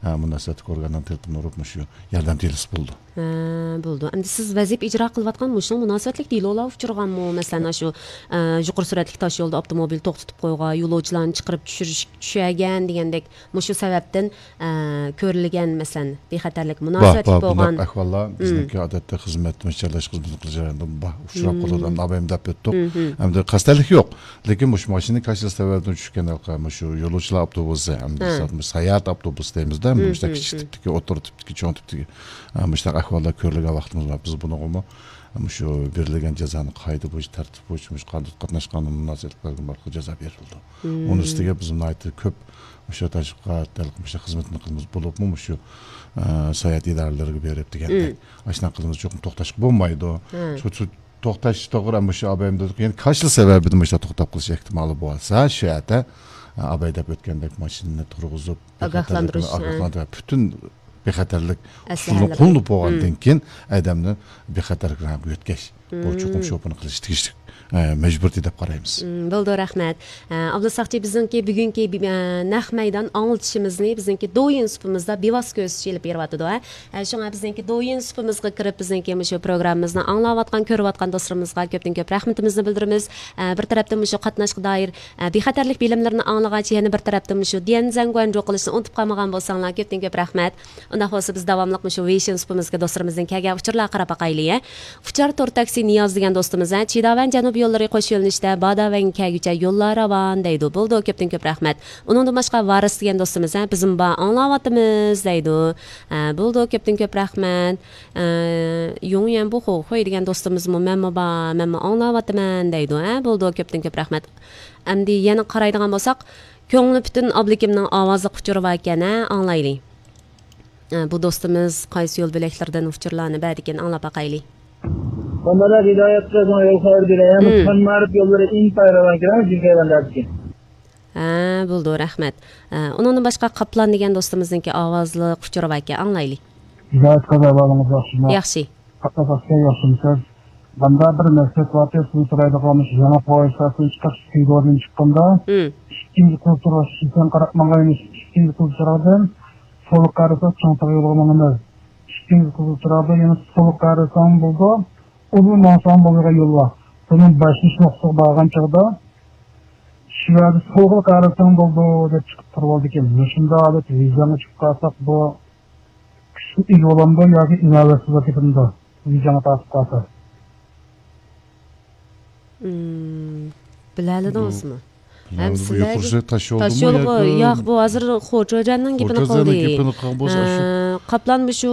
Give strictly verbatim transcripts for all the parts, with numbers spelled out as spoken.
ئە، مۇناسىۋەتلىك ئورگاننىڭ تېلېفونىنى ئۇرۇپ، مۇشۇ ياردەم دېلوسى بولىدۇ. ھە، بولىدۇ. ئەمدى سىز ۋەزىپە ئىجرا قىلىۋاتقان مۇشۇنىڭ مۇناسىۋەتلىك دېلولار ئۇچرىغانمۇ؟ مەسىلەن، ئاشۇ، ئە، يۇقىرى سۈرئەتلىك تاش يولدا ئاپتوموبىل توختىتىپ قويغان، يولۇچىلارنى چىقىرىپ چۈشۈرۈش، چۈشۈرگەن دېگەندەك، مۇشۇ سەۋەبتىن، ئە، كۆرۈلگەن، مەسىلەن، بىخەتەرلىك بار، مۇناسىۋەتلىك بار، بولغان. بۇنداق ئەھۋاللار بىزنىڭكى ئادەتتە خىزمەت، مۇشۇ چارلاش خىزمىتىنى قىلىش جەريانىدا بار، ئۇچراپ قالىدۇ. ئەمدى ئابايىم دەپ ئۆتتۇق. ئەمدى قەستەنلىك يوق. لېكىن مۇشۇ ماشىنا كاشىلا سەۋەبىدىن چۈشكەن ھالقا، مۇشۇ يولۇچىلار ئاپتوبۇسى، ئەمدى ھە. ساياھەت ئاپتوبۇسى دەيمىزدە، مۇشۇنداق كىچىك تىپتىكى، ئوتتۇرا تىپتىكى، چوڭ تىپتىكى، ئە، مۇشۇنداق ئەھۋاللار كۆرۈلگەن ۋاقتىمىز بار. بىز بۇنىڭغىمۇ، ئە، مۇشۇ بېرىلگەن جازانى قائىدە بويىچە، تەرتىپ بويىچە، مۇشۇ قانۇن قاتناشقاندا مۇناسىۋەتلىك بەلگىلىمە ئارقىلىق جازا بېرىلىدۇ. ئۇنىڭ ئۈستىگە بىز ناھايىتى كۆپ مۇشۇ تەشۋىقات، مۇشۇ خىزمەتنى قىلىمىز، بولۇپمۇ مۇشۇ، ئە، ساياھەت ئىدارىلىرىگە بېرىپ دېگەندەك. ئاشۇنداق قىلىمىز، چوقۇم توختاشقا بولمايدۇ. شۇ، شۇ توختاش توغرا، مۇشۇ ئابايىم دېدۇق، يەنە كاشىلا سەۋەبىدىن مۇشۇ توختاپ قېلىش ئېھتىمالى بولسا، شۇ يەردە، ئە، ئاباي دەپ ئۆتكەندەك ماشىنىنى تۇرغۇزۇپ، ئاگاھلاندۇرۇش، ئاگاھلاندۇرۇش، پۈتۈن بىخەتەرلىك ئۇسۇلىنى قوللىنىپ بولغاندىن كېيىن ئادەمنى بىخەتەرلىك رايونىغا يۆتكەش. بۇ چوقۇم شوپۇرنى قىلىش تېگىشلىك، ئە، مەجبۇرىيىتى دەپ قارايمىز. مم، بولىدۇ، رەھمەت. ئە، ئابلىز ساقچى، بىزنىڭكى بۈگۈنكى بى-، ئە، نەق مەيدان ئاڭلىتىشىمىزنى بىزنىڭكى دويىن سۇپىمىزدا بىۋاسىتە كۆرسىتىش ئېلىپ بېرىۋاتىدۇ، ھە. ئە، شۇڭا بىزنىڭكى دويىن سۇپىمىزغا كىرىپ، بىزنىڭكى مۇشۇ پروگراممىمىزنى ئاڭلاۋاتقان، كۆرۈۋاتقان دوستلىرىمىزغا كۆپتىن كۆپ رەھمىتىمىزنى بىلدۈرىمىز. ئە، بىر تەرەپتىن مۇشۇ قاتناشقا دائىر، ئە، بىخەتەرلىك بىلىملىرىنى ئاڭلىغاچ، يەنە بىر تەرەپتىن مۇشۇ ديەنزەنگۇەنجۇ قىلىشنى ئۇنتۇپ قالمىغان بولساڭلار، كۆپتىن كۆپ رەھمەت. ئۇنداق بولسا، بىز داۋاملىق مۇشۇ ۋېيشىن سۇپىمىزغا دوستلىرىمىزدىن كەلگەن ئۇچۇرلارغا قاراپ باقايلى، ھە. ئۇچار تور تاكسى نىياز دېگەن دوستىمىز، ھە، چىداۋەن جەنۇبىي يوللىرى قوش يۆنىلىشتە باداۋەنگە كەلگۈچە يوللار راۋان دەيدۇ. بولىدۇ، كۆپتىن كۆپ رەھمەت. ئۇنىڭدىن باشقا ۋارىس دېگەن دوستىمىز، ھە، بىزمۇ بار ئاڭلاۋاتىمىز دەيدۇ. ھە، بولىدۇ، كۆپتىن كۆپ رەھمەت. ئە، يۇڭيۈەن بۇخۇ خۇي دېگەن دوستىمىزمۇ مەنمۇ بار، مەنمۇ ئاڭلاۋاتىمەن دەيدۇ. ھە، بولىدۇ، كۆپتىن كۆپ رەھمەت. ئەمدى يەنە قارايدىغان بولساق، كۆڭلى پۈتۈن ئابلىكىمنىڭ ئاۋازلىق ئۇچۇرى باركەن، ھە، ئاڭلايلى. ئە، بۇ دوستىمىز قايسى يول بۆلەكلىرىدىن ئۇچۇرلارنى بەردىكىن، ئاڭلاپ باقايلى. مەمەت ھىدايەت سىزنىڭ يول خەۋىرى بىلەن يەنە مم. مەن مەرىپ يوللىرى ئىنتايىن راۋان كېلىڭ، جىگەرلەندەركەن. ھە، بولىدۇ، رەھمەت. ئە، ئۇنىڭدىن باشقا قاپلان دېگەن دوستىمىزنىڭكى ئاۋازلىق ئۇچۇرى باركەن، ئاڭلايلى. ھىدايەت قازا ئەھۋالىڭىز ياخشىمۇ؟ ياخشى. قاپلان ئاكا ياخشىمۇسىز؟ ماندا بىر مەسىلە بار، سىزدىن سورايدىغان مۇشۇ يېڭى پويىز ئىستانسىسىدىن چىقىپ، سېيىت ۋوردىن چىققاندا، مم. ئىككىنچى قىزىل تۇرغۇچ شىشەن قاراپ ماڭغان، ئىككىنچى قىزىل چىراغدىن سولغا قارىسا چوڭ تاغ يولىغا ماڭىمىز. ئىككىنچى قىزىل چىراغدا يەنە سولغا قارىساڭ بولىدۇ، ئۇدۇل ماڭساڭ بولىدىغان يول بار. بۇنىڭ باشلىنىش نۇقتىسىغا بارغان چاغدا شۇ يەردە سولغا قارىساڭ بولىدۇ دەپ چىقىپ تۇرۇۋالىدىكەن. مۇشۇنداق ھالەتتە ۋىزاڭغا چىقىپ قالساق، بۇ كۈچكە ئىگە بولامدۇ ياكى ئىناۋەتسىزلىك كېتىمدۇ؟ ۋىزاڭغا تارتىپ قالسا. مم، بىلەلىدىڭىزمۇ؟ بۇ، ھەم بۇ سىلەرگە يۇقىرى سۈرئەت تاش يولدىمۇ تاش يولغا، ياكى ياق، بۇ ھازىر خۇچۇجەننىڭ گېپىنى خۇچۇجەننىڭ قىلدى. گېپىنى قىلغان بولسا، ئە، شۇ قاپلان مۇشۇ،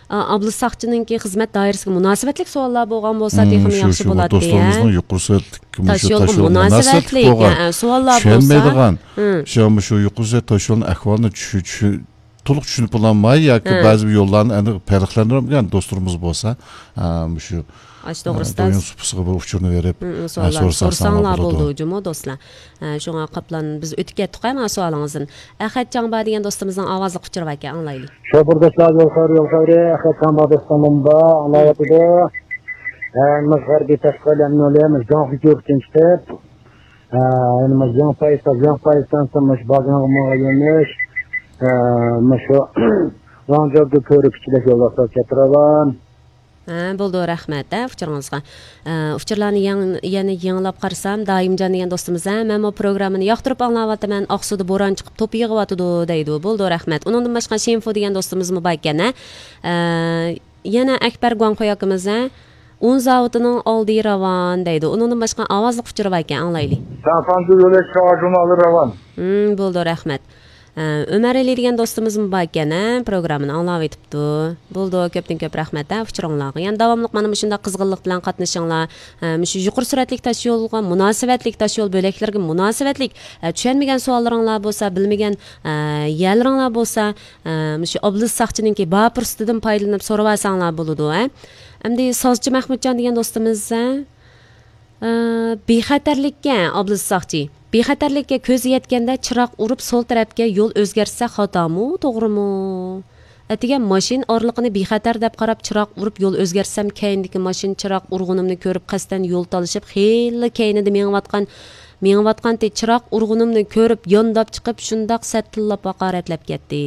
ئا، ئابلىز ساقچىنىڭكى خىزمەت دائىرىسىگە مۇناسىۋەتلىك سوئاللار بولغان بولسا، مم، تېخىمۇ شۇ، ياخشى شۇ، بۇ بولاتتى، ھە؟ دوستلىرىمىزنىڭ يۇقىرى سۈرئەتلىك مۇشۇ تاش يولغا تاش يولغا مۇناسىۋەتلىك، مۇناسىۋەتلىك بولغان، ئە، سوئاللار بولسا، چۈشەنمەيدىغان، مم. شۇ، مۇشۇ يۇقىرى سۈرئەت تاش يولىنىڭ ئەھۋالىنى چۈ-، چۈ-، تولۇق چۈشىنىپ بولالماي ياكى ھە. بەزى يوللارنى ئېنىق پەرقلەندۈرمىگەن دوستلىرىمىز بولسا، ئە، مۇشۇ، ئاشۇ ئە، توغرىسىدا دويۇن سۇپىسىغا بىر ئۇچۇرنى بېرىپ، مم، ئە، سوئاللار سورىساڭلار سورىساڭلار بولىدۇ. بولىدۇ جۇمۇ دوستلار. ئە، شۇڭا قاپلان، بىز ئۆتۈپ كەتتۇق، ئەمما سوئالىڭىزدىن. ئەخەت جاڭبا دېگەن دوستىمىزنىڭ ئاۋازلىق ئۇچۇرى باركەن، ئاڭلايلى. شوپۇر دوستلار، يول خەۋىرى، يول خەۋىرى، ئەخەت جاڭبا دوستۇم بۇندا ئاڭلاۋاتىدۇ. ئە، مىز غەربىي تەشقىلات ئەمنىيەت، مىز جاڭ فىجۇركىن چىقىپ، ئە، يەنە مۇشۇ يېڭى پايىز، يېڭى پايىز ئىستانسىسى مۇشۇ بازىڭغا ماڭغان يۆنىلىش، ئە، مۇشۇ ۋاڭجاۋدۇ كۆۋرۈك ئىچىدىكى يوللار كەتتى راۋان. ھە، بولىدۇ، رەھمەت، ھە، ئۇچۇرىڭىزغا. ئە، ئۇچۇرلارنى يېڭ-، يەنە يېڭىلاپ قارىسام، دائىمجان دېگەن دوستىمىز، ھە، مەنمۇ پروگراممىنى ياقتۇرۇپ ئاڭلاۋاتىمەن، ئاقسۇدا بوران چىقىپ توپا يېغىۋاتىدۇ دەيدۇ. بولىدۇ، رەھمەت. ئۇنىڭدىن باشقا شىنفۇ دېگەن دوستىمىزمۇ باركەن، ھە. ئە، يەنە ئەكبەر گۇاڭخۇي ئاكىمىز، ھە، ئۇن زاۋۇتىنىڭ ئالدى راۋان دەيدۇ. ئۇنىڭدىن باشقا ئاۋازلىق ئۇچۇرى باركەن، ئاڭلايلى. سانفانزۇ يولى شاۋاجۇنى ئالدى راۋان. ھىم، بولىدۇ، رەھمەت. ئە، ئۆمەر ئەلى دېگەن دوستىمىزمۇ باركەن، ھە، پروگراممىنى ئاڭلاۋېتىپتۇ. بولىدۇ، كۆپتىن كۆپ رەھمەت، ھە، ئۇچۇرۇڭلارغا. يەنە داۋاملىق مانا مۇشۇنداق قىزغىنلىق بىلەن قاتنىشىڭلار. ھە، مۇشۇ يۇقىرى سۈرئەتلىك تاش يولغا مۇناسىۋەتلىك، تاش يول بۆلەكلىرىگە مۇناسىۋەتلىك، ھە، چۈشەنمىگەن سوئاللىرىڭلار بولسا، بىلمىگەن، ھە، يەرلىرىڭلار بولسا، ئە، مۇشۇ ئابلىز ساقچىنىڭكى بار پۇرسىتىدىن پايدىلىنىپ سورىۋالساڭلار بولىدۇ، ھە. ئەمدى سازچى مەھمۇتجان دېگەن دوستىمىز، ھە، ئە، بىخەتەرلىككە ئابلىز ساقچى. بىخەتەرلىككە كۆز يەتكەندە چىراغ ئۇرۇپ سول تەرەپكە يول ئۆزگەرتسە خاتامۇ، توغرىمۇ؟ ئەتىگەن ماشىنا ئارىلىقىنى بىخەتەر دەپ قاراپ چىراغ ئۇرۇپ يول ئۆزگەرتسەم، كەينىدىكى ماشىنا چىراغ ئۇرغىنىمنى كۆرۈپ قەستەن يول تالىشىپ خېلىلا كەينىدە مېڭىۋاتقان مېڭىۋاتقانتى، چىراغ ئۇرغىنىمنى كۆرۈپ يانداپ چىقىپ شۇنداق سەتتىللاپ ھاقارەتلەپ كەتتى.